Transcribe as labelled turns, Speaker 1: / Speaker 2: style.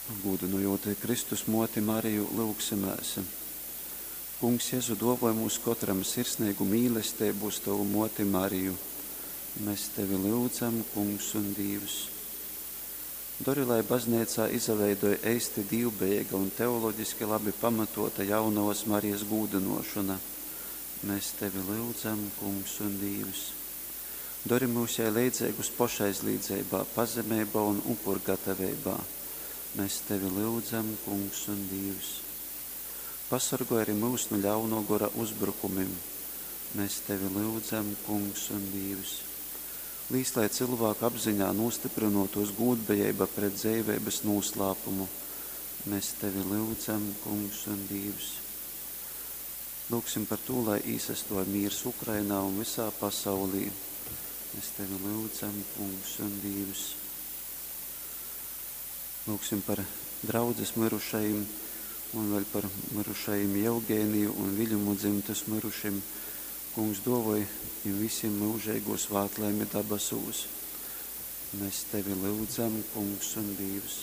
Speaker 1: Gūdynojot Kristus muoti Mariju, lyugsimēs. Kungs Jezu, duovoj mums kotram sirsneigu mīlesteibu uz tovu muoti Mariju. Mēs tevi lyudzam, Kungs un Dīvs. Dori, lai bazneicā izaveidoj eisti dīvbejeiga un teoloģiski labi pamatota Jaunovas Marijas gūdynuošona. Mēs tevi lyudzam, Kungs un Dīvs. Dori myus jai leidzeigus pošaizlīdzeibā, pazemeibā un upurgataveibā. Mēs tevi lyudzam, Kungs un Dīvs. Pasorgoj arī myus nu ļauno gora uzbrukumim. Mēs tevi lyudzam, Kungs un Dīvs. Līs, lai cylvāku apziņā nūstyprynuotūs gūdbejeiba pret dzeiveibys nūslāpumu. Mēs tevi lyudzam, Kungs un Dīvs. Lūgsim par tū, lai īsastuoj mīrs Ukrainā un vysā pasaulī. Mēs tevi lyudzam, Kungs un Dīvs. Lūgsim par draudzes myrušajim un vēļ par myrušajim Jevgeniju un Viļumu dzymtys myrušim. Kungs duovoj jim vysim myužeigū svātlaimi dabasūs. Mēs tevi lyudzam, Kungs un Dīvs.